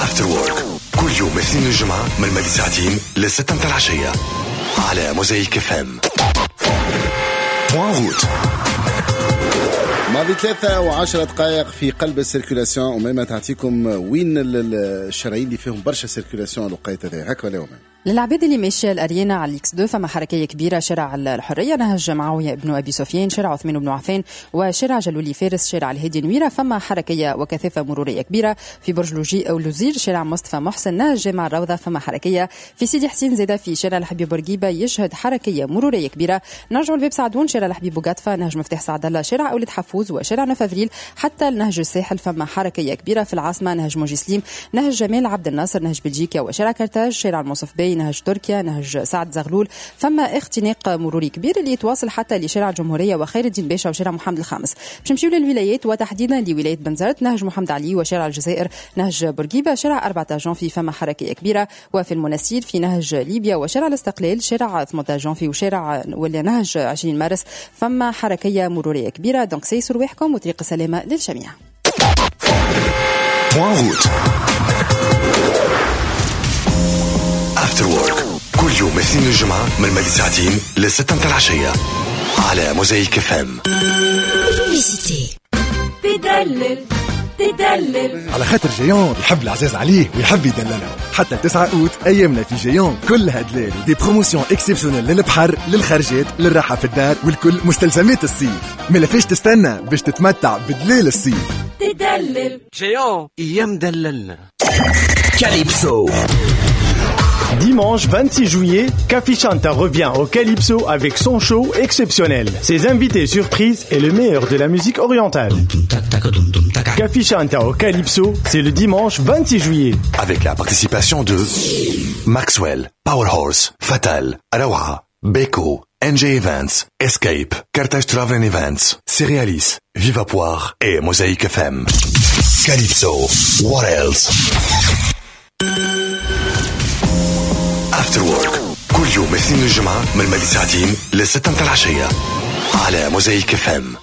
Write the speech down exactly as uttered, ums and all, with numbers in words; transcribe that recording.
After Work كل يوم اثنين الجمعة من مالي ساعتين لستة متاع العشية على موزايك اف ام. Point route. ماضي ثلاثة وعشرة دقائق في قلب ال circulation، وميمة تعطيكم وين الشرايين اللي فيهم برشا circulation الوقيت هذا هكا ولا وين؟ للعباد اللي ماشية الاريانا على ال X اثنين فما حركية كبيرة، شارع الحرية، نهج معاوية بن ابي سفيان، شارع عثمان بن عفان، وشارع جلولي فارس، شارع الهادي نويره، فما حركية وكثافه مروريه كبيرة في برج لوجي او لوزير، شارع مصطفى محسن، نهج جامع الروضة فما حركية في سيدي حسين زاده في شارع الحبيب بورقيبة يشهد حركية مروريه كبيرة. نرجعوا لباب سعدون، شارع الحبيب بوقطفه، نهج مفتاح سعد الله، شارع اولاد حفوز، وشارع neuf avril حتى نهج الساحل فما حركية كبيرة. في العاصمة نهج موجي سليم، نهج جمال عبد الناصر، نهج بلجيكا وشارع كرتاج، شارع المنصف باي، نهج تركيا، نهج سعد زغلول، فما اختناق مروري كبير اللي يتواصل حتى لشارع الجمهورية وخير الدين باشا وشارع محمد الخامس. باش نمشيو للولايات وتحديدا لولاية بنزرت، نهج محمد علي وشارع الجزائر، نهج بورقيبة، شارع أربعة عشر جانفي فما حركية كبيرة، وفي المناسير في نهج ليبيا وشارع الاستقلال، شارع ثمانية عشر جانفي وشارع ولا نهج عشرين مارس فما حركية مرورية كبيرة. donc سيسوا رواحكم وطريق السلامة للجميع. After Work كل يوم اثنين الجمعة من مالي ساعتين لستة متاع العشية على موزايك اف ام. تدلل تدلل على خاطر Géant يحب العزاز عليه ويحب يدللهم. حتى تسعة أوت أيامنا في Géant كلها دلال، des promotions exceptionnelles للبحر، للخرجات، للراحة في الدار، والكل مستلزمات الصيف. ما فيش تستنى باش تتمتع بدلال الصيف. تدلل Géant يا مدللنا. Calypso. Dimanche vingt-six juillet, Café Chanta revient au Calypso avec son show exceptionnel. Ses invités surprises et le meilleur de la musique orientale. Café Chanta au Calypso, c'est le dimanche vingt-six juillet. Avec la participation de Maxwell, Powerhorse, Fatal, Rawa, Beko, N J Events, Escape, Carthage Travel and Events, Cerealis, Viva Poire et Mosaïque F M. Calypso, what else? After Work كل يوم اثنين الجمعة من مالي ساعتين لستة متاع العشية على موزايك اف ام.